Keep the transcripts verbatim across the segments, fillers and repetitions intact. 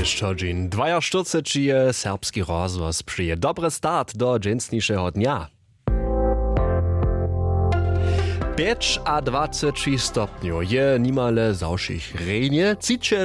Šćodźeń dwajaštyrceći je serbski rozhłos přeje dobry start do dźensnišeho dnja. Pjećadwaceći stopnjow je nimale za wšěch rjenje,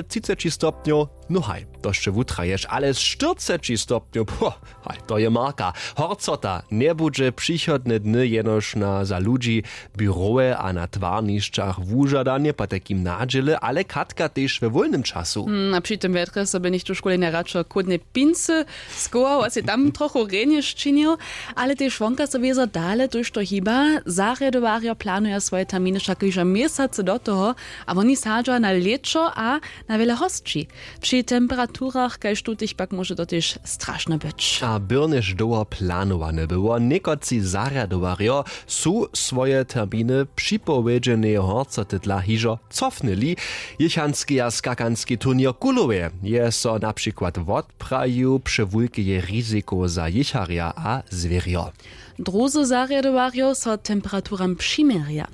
třiceći stopnjow, no haj, to sće wutraješ, ale štyrceći stopnjow, po, haj, to je marka. Horcota njebudźe přichodne dny jenož na za ludźi, běrowe a na twarnišćach wužadanje, potajkim nadźěle, ale katka tež we wólnym času. Hmm, a při tym wjetrje so by něchtó škule njeradšo chłódne pincy schował a sej tam trochu rjenje sčinił, ale tež wonka so wězo dale tójšto hiba. Zarjadowarjo planuja swoje terminy wšak hižo měsacy do toho, a woni sadźa na lěćo a na wjele hosći. Při temperaturach kaž tutych pak móže to tež strašne być. A byrnjež dołho planowane było, někotři zarjadowarjo su swoje terminy připowědźeneje horcoty dla hižo cofnyli. Jěchanskeja skakanski turněr w Kulowej je so na přikład wotprajił přewulkeje riziko za jěcharja a zwěrjo. Druzy zarjadowarjo so temperaturam přiměrja.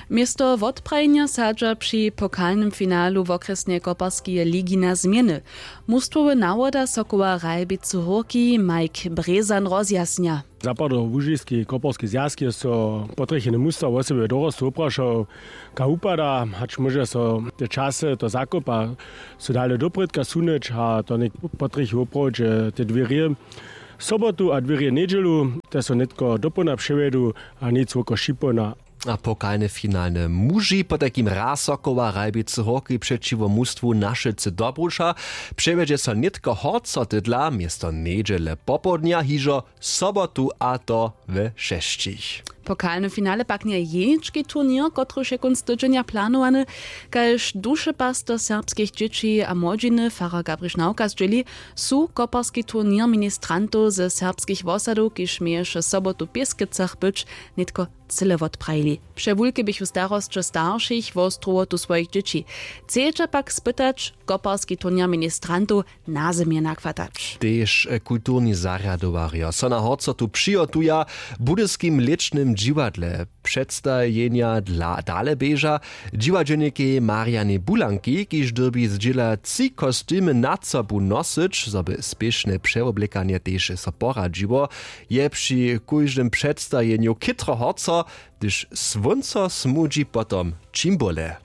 Město wotprajenja sadźa při pokalnym finalu wokrjesneje koparskeje ligi na změny. Mustwowy nawoda sokoła ralbicy hórki mike brězan rozjasnja. Zapadołužiski koporski zwjazk je so potrjecheny musta wosebje dorostu woprašał, ka wupada, hač móže so te časy to zakopa so dale doprědka sunyć a to něk potrjechi woprawdźe te dwěrje sobotu a dwěrje njedźelu, te so nětko dopołdna přewjedu a nic woko šipołdna. A pokalne finalne muži potajkim raz sokoła ralbicy hórki přećiwo mustwu našelcy dobruša přewjedźe so nětko horco tydla město njedźele popołdnja hižo sobotu a to we šesćich. Pokalny finale pak njeje jenički turněr kotryž je kónc tydźenja planowany. Kaž dušepaster serbskich dźěći a młodźiny farar gabriš nawka zdźěli, su koparski turněr ministrantow ze serbskich wosadow kiž měješe sobotu w pěskecach być, nětko cyle wotprajili. Přewulke běchu starosće staršich wo strowotu swojich dźěći. Chcedźa pak spytać koparski turněr ministrantow nazymje nachwatać. Tež kulturni zarjadowarjo so na horcotu přihotuja. W budyskim lěčnym dźiwadle předstajenja dla dale běža dźiwadźelnikej marianej bulanki kiž dyrbi zdźěla tři kostymy nad sobu nosyć zo by spěšne přewoblekanje tež so poradźiło. Je při kóždym předstajenju chětro horco, hdyž słónco smudźi potom čimbole.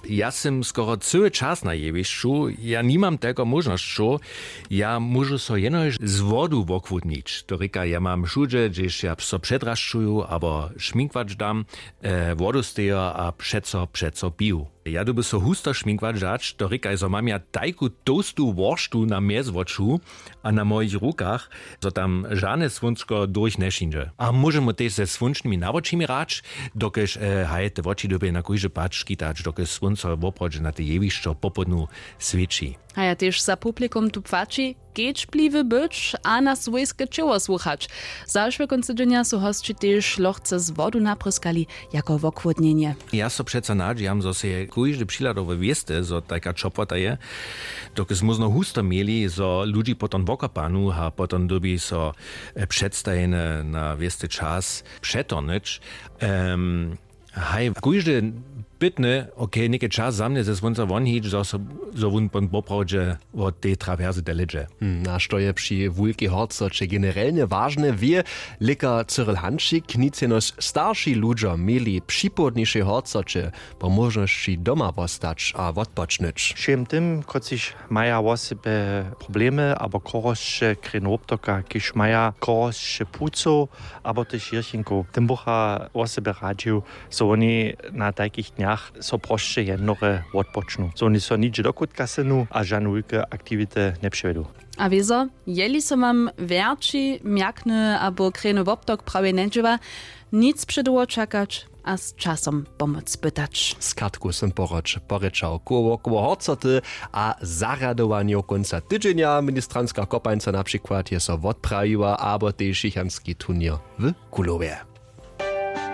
Ja sym skoro cyły čas na jewišću. Ja nimam telko móžnosćow. Ja móžu so jenož z wodu wochłódnić to rěka ja mam wšudźe hdźež ja so předrašćuju abo šminkwać dam, wodu stejo a přeco přeco piju. Ja dyrbju so husto šminkwać dać to rěkaj zo mam ja tajku tołstu worštu na mjezwoću a na mojich rukach, zo tam žane słónčko durch nješindźe a móžemy tež ze słónčnymi nawočimi hrać, dokelž haj te woči dyrbjej na kóždy pad škitać dokelž słónco woprawdźe na te jewišćo popołdnju swěći. A ja tež za publikum tu płaći kedźbliwy być a na swójske ćěło słuchać. Zašłe kónc tydźenja su hosći tež lochce z wodu napryskali jako wochłódnjenje. Ja so přeco nadźijam zo sej kóždy přihladował wěsty zo tajka ćopłota je, dokelž móžno husto měli zo ludźi potom wokopanu a potom dyrbi so předstajene na wěsty čas přetornyć. Haj kóždy pytny, okay něke čas za mnje ze słónca wonhić zo wón pon poprawdźe wot tej trawerse delydźe. Hm a što je při wulkej horcoće generelnje wažne wě, lěkar cyril hančik nic jenož starši ludźo měli w připołdnišej horcoće po móžnosći doma wostać a wotpočnyć. Wšěm tym kotřiž maja wosebje problemy abo chorosće krjenowoptoka kiž maja chorosće płucow abo tež jirchinkow tym bucha wosebje radźił, zo woni na tajkich dnjach so prosće jendnore wotpočnu zo woni so nihdźe do kutka synu a žane wulke aktiwity njepřewjedu. A wězo, jeli so wam wjerći mjakny abo krejny woptok prawje njedźěła, nic předołho čakać a z časom pomoc pytać. Z katku sym porječał koło koło horcoty a zarjadowanjow kónca tydźenja ministranska kopańca na přikład je so wotprajiła abo tež jichanski turněr w kulowje.